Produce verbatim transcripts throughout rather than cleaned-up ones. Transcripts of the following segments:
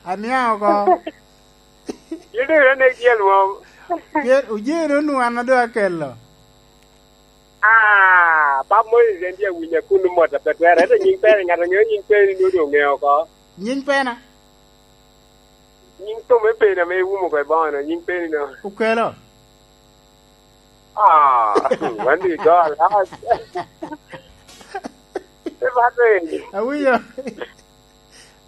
Aniaŋ oko. Yin doŋ ine nek jel mom. Pien oye doŋ nwan a doŋ akelo. Ah, Pap Moses en tye awinyo kun mot a pe twere. Ento nying pere, ŋat a ŋeo nying pere ni doŋ ŋeo oko. Nying pena? Nying kome pena ame iwumo oko i boŋo-no, nying peni-no. Okelo. Ah, wan di gol. Ah. Te bat ni. Awinyo.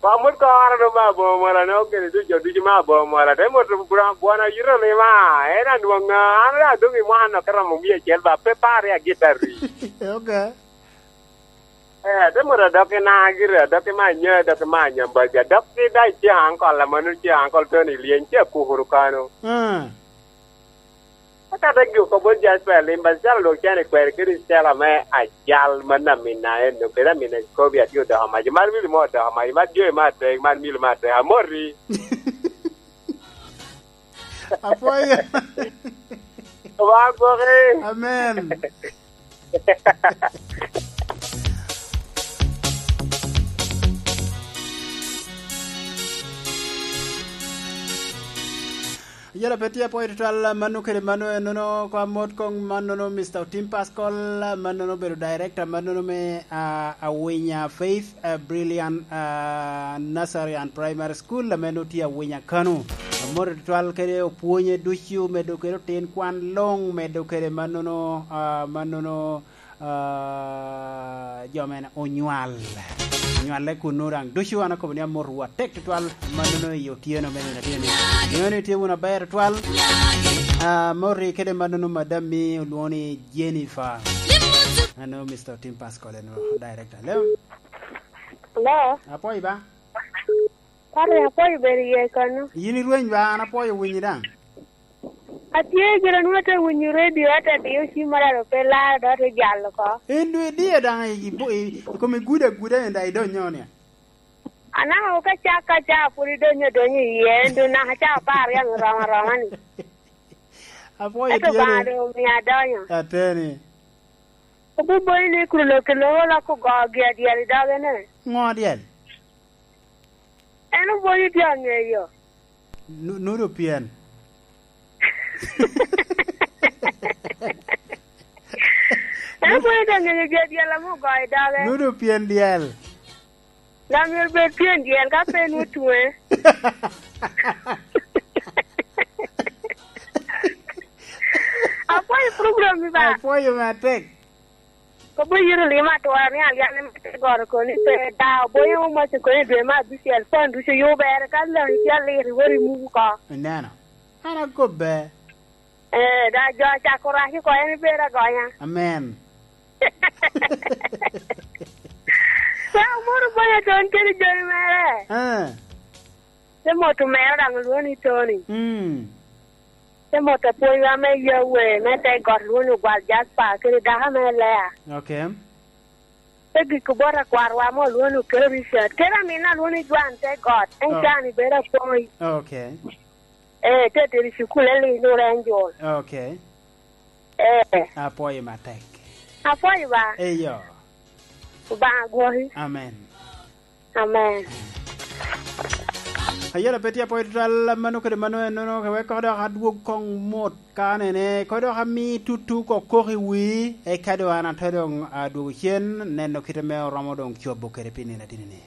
Ba mot koro do ma aboŋo mola ne okene ducu, ducu ma aboŋo mola. Te mot bura bwana yito lima. En anwoŋo ŋa? An ri adoŋ i mwaka nok romo mia acel ba pe par ya gitari. Okay. Eh, te mot adok i na gire, adok i ma anya, adok i ma anya mbaja. Adok i da i cia ankol, amano cia ankol Tony Lyeny, cia kukuru kano. Mm. Aka te giko bot Jasper Limba, calo lwak cene kwero kede celo me ajal man amina en, kede amina Kobe atye odoko mac, mar mili mo odoko mac, mar joe me atek, mar mili me atek, amoti. Apwoyo. Oba gwoki. Amen. Yala pe tye apwoyo tutwal, mano kede mano, enono ko amot kong mannono, Mister Otim Pascal, mannono obedo director mannono me, ah, Awinya Faith, ah, Brilliant, ah, Nursery and Primary School, ame nongo tye Awinya kano. Amot tutwal kede opwonye ducu, medo kede otin kwan luŋ, medo kede mannono, ah, mannono, ah, jo mene onywal. Onywale kunnu daŋ ducu, an akobo ni amotwu atek tutwal, mannono i otyeno me nino atye ni. Ŋeo ni tye wunu aber tutwal. Ah, moti kede mannono madam mi olwoŋo ni Jennifer. Ano Mister Otim Pascal eno, director. Hello? Hello? Apwoyo ba? Pare, apwoyo bedo iye kono. Yin irweny ba, an apwoyo winyi daŋ. Atye gire nwoŋo ate winyo redio, ate diyo cim mara alo pe laro, dok ate jalo oko. En doŋ idiyo daŋ i, i, i, i kom igudo aguda en daŋ idonyo ni. Anaka ka cak ka cak pwod idonyo adonyo iye, en doŋ naka cak apar yaŋ oromo aroma ni. Apwoyo. Ento tye ni Obaŋa doŋ omio adonyo. Ateni. Obubonyo ni kuro lok i lok olok ogo gi adyel i doge ne. Ŋo adyel? En obwonyo tye aŋeyo. Nu-, nudo pien. En obwonyo tye aŋeyo gi adyel ame ogo i doge. Nudo pien dyel. Dok myero bed pien dyel ka pe en otwe. Apwoyo program ni ba. Apwoyo matek. Kobo yito lima atwara ni alyane me te goro koni pe da, obonyo omaco koni dwe me abicel, pon ducu yubere, ka loni tye alir, iwot imuko oko. Ineno? An akobbe. Eh, da jo acako rac oko, en ibedo agonya. Amen. Ka omoro bonya ton kede joni mere. Eh. Te moto mero daŋ olwoŋo ni Tony. Mm. Te moto apwonywa me Yahweh me te got lwoŋo ni Ogwal Jasper kede dako me Lea. Okay. Te giko bot akwarwa mo lwoŋo ni Oketo Richard. Kede aminna lwoŋo ni Jwan te got. En Oh. Jwan ibedo apwony. Okay. Eh, te tero i cukul en Little Angel. Okay. Eh. Apwoyo matek. Apwoyo ba. Eyo. Obaŋa gwoki. Amen. Amen. Ayela pe tye apwoyo tutwal, mano kede mano ennono, wek koko dok adwog koŋ mot ka nene, koko dok ami tutu kok kok i wii, eka doŋ an atye doŋ adwogo cen, neno kite me oromo doŋ cobo kede pi nino atini-ni.